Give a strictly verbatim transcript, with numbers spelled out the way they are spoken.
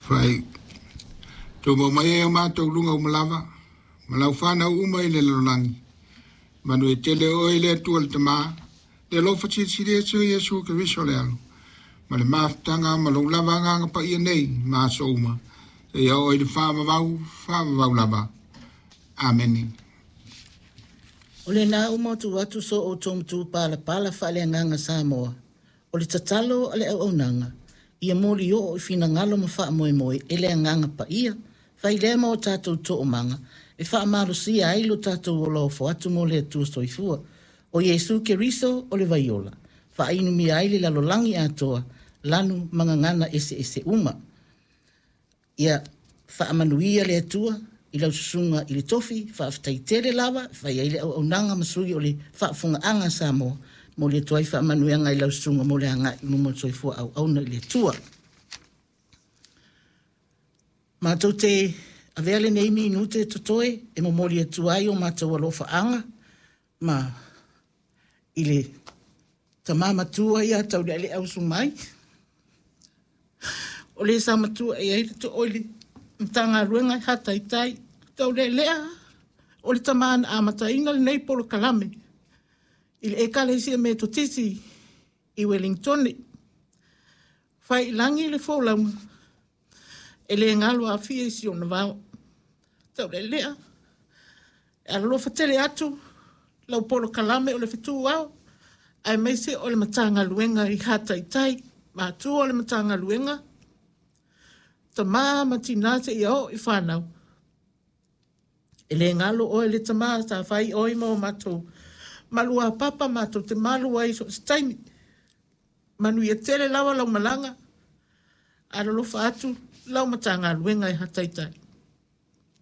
Fai tumau mai ai o matou luga uma lava ma lau fanau uma i le lalolagi. Manuia tele oe e le Atua le Tamā, le alofa silisili ese o Iesu Keriso le Alo, ma le mafutaga ma lou lava Agaga Paia nei ma aso uma, seia oo i le faavavau, faavavau lava. Amene. O lena ua matu atu so outou matupalapala faaleagaga Samoa, o le tatalo a le auaunaga, ia moli oo i finagalo ma faamoemoe e le Agaga Paia, fai lea ma o tatou toomaga, e faamalosia ai lo tatou ola ofo atu mo le Atua Soifua. O Iesu Keriso o le vaiola, faainumia ai le lalolagi atoa, lanu ma gagana eseese uma. Ia faamanuia le Atua i lau susuga i le tofi, faafetai tele lava, fai ai le auaunaga ma sui o le faafofogaaga a Samoa, mo le atu ai faamanuiaga i lau susuga mo le agai i luma o le soifua auauna i le Atua. Matou te avea lenei minute totoe e momoli atu ai o matou alofaaga ma i le tama matua ia Taulealea Usu mai. O le sa matua e ai le too i le Matagaluega e hataitai. Taulealea o le tama na amataina lenei polokalame i le Ekalesia Metotisi i Wellington. Fai i lagi le folauga, e le galo afia i si ona vao. Taulealea, e alolofa tele atu lau polokalame o le fetu ao, aemaise o le Matagaluega i hataitai, matua o le Matagaluega, tama ma tina seia oo i fanau. E le galo oe le tama sa fai oi ma o matou malua papa matou te malu ai so o se taimi. Manuia tele lava lau malaga, alolofa atu lau Matagaluega e hataitai.